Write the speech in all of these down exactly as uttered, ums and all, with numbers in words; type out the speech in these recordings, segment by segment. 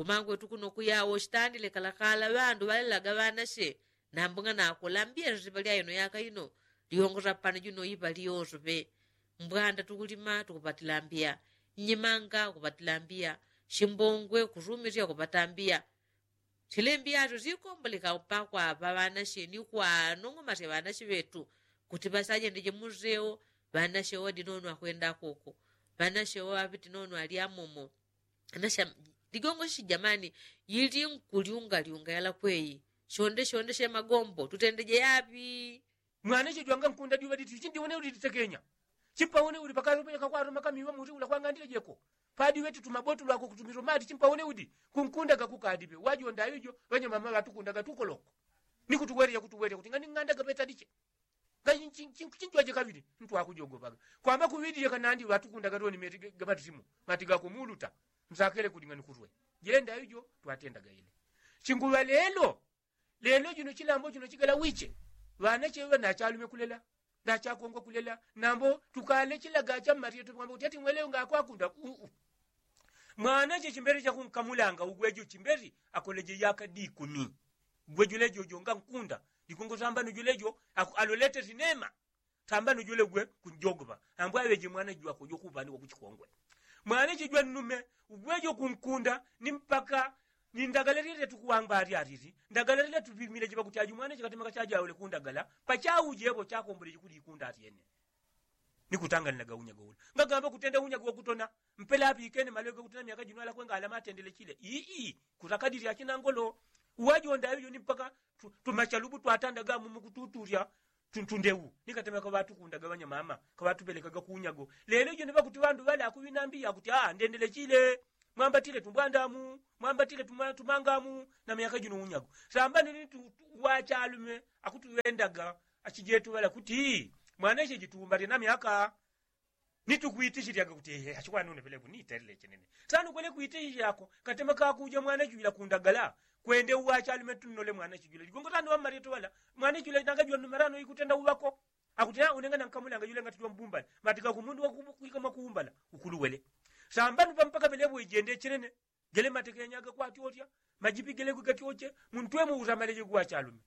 Kumangwetu kuno kuyawo shitandile kalakala ŵandu ŵalelaga ŵanashe. Nambung'ana kulambiya shipa lya ino yaka ino. Lyongosa pano juno ipa lyosope. Mbwanda tukulima tukupatilambiya. Nyimanga kupatilambiya. Shimbongwe kusumisya kupatambiya. Shilembiya syo shikomboleka pakwa ŵanashe ni kwanong'omasya ŵanashe ŵetu. Kuti ŵasajendeje museo. Ŵanashe wadinono akwenda koko. Ŵanashe ŵaŵiti nono alyamomo. Anasha ligongo shi jamani. Yili nkulyungalyunga yala kweyi. Shonde shonde she magombo tutendeje yaŵi? Mwana chejwanga nkunda diŵa diti chindiwone uli ditekenya. Chimpawone uli pakalo penya kakwaruma kamiŵa muti ula kwang'andile jeko. Padiŵeti tumabotu lwako kutumiro mati chimpawone udi. Kunkunda gakukadiŵe wajonda ijo. Ŵanyamama ŵatukundaga tukoloko. Nikutuweleja kutuweleja kuti ngani ng'anda gapeta diche. Ngai chinjwaje kaŵili. Ntwakujogopaga kwamba kuŵidile kanandi ŵatukundaga toni meti gamatisimu. Mati gako muluta. Nsakele kuli ngani kulwe. Jilenda ijo twatendaga ile. Chinguŵa lelo. Lelo jino chilambo jino chigala wiche. Ŵanache ŵa nachalume kulela. Nachakongwa kulela. Nambo tukale chilaga cha mmaryeto pwamba kuti ati mweleo ngakwakunda uu. Mwanache chimberi chakunkamulanga ugwejo chimberi akoleje yaka dikumi. Gwejo lejojo ngankunda. Dikungo sambano julejo alolete sinema. Sambano jule gwe kunjogopa. Ambo aŵeje mwana jwako jokupandikwa kuchikongwe. Mwana chijwa nnume ugwejo kunkunda ni mpaka. Ni ndagala lile tukuwangwa alyalili. Ndagala lile tupimile jiŵa kuti aju mwana chikatemeka chajaule kundagala. Pachauje epo chakombole jikuli ikunda atyene. Nikutanganila unyago ula ngagamba kutenda unyago wakutona. Mpela apikene malwege kutona myaka jino alakwe ngalamatendele chile ii. Kutakadili achinangolo. Uwajonda aŵijo ni mpaka tumachalubu twatandaga mumu kututulya. Tuntundewu. Nikatemeka ŵatukundaga ŵanyamama kaŵatupelekaga kunyago. Lelo ijo niŵakuti ŵandu ŵale akuŵinambiya kuti aa ndendele chile. Mwambatile tumbwandamu. Mwambatile tumangamu. Na myaka jino unyago sambano ni wachalume. Akutuŵendaga achijetu ŵala kuti mwana iche jitumbalye na myaka. Nitukwitichilyaga kuti ehe achikwanune peleku nitelele chenene. Sanu kwele kwitichilyako katema kakuja mwana chujila kundagala. Kwende uwachalume tunnole mwana chujila ligongo sanu ŵammalyetu ŵala. Mwana chujila nanga jwannume rano ikutenda uŵako. Akuti unengana nkamulanga jule ngati jwambumbala. Matika kumundu wakuika mwakuumbala. Ukuluwele sambanu pampaka pelepo ijende chenene. Gele matekenyaga kwatyocha. Majipi gele gwigatyoche. Muntwemo usamaleje gwachalume.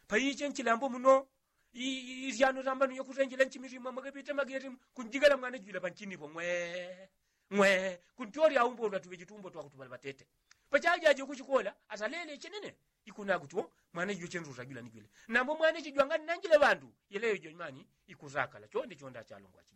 Paiche nchilambo muno. Isyano sambanu yokusenjela nchimisimwa mwakapite mageri kunjigala mwana jwila panchinipo ng'wee. Ng'wee. Kuntyolya aumbo ulwatuŵe jitumbo twakutupala patete. Pachajaje kuchikola asalele chenene. Ikuna kuti o mwana jwile chenzusa jwila ni jwile. Nambo mwana chijwanga nnanjile ŵandu. Yeleyo jwemani. Ikusakala chonde chonde achalungwa chi.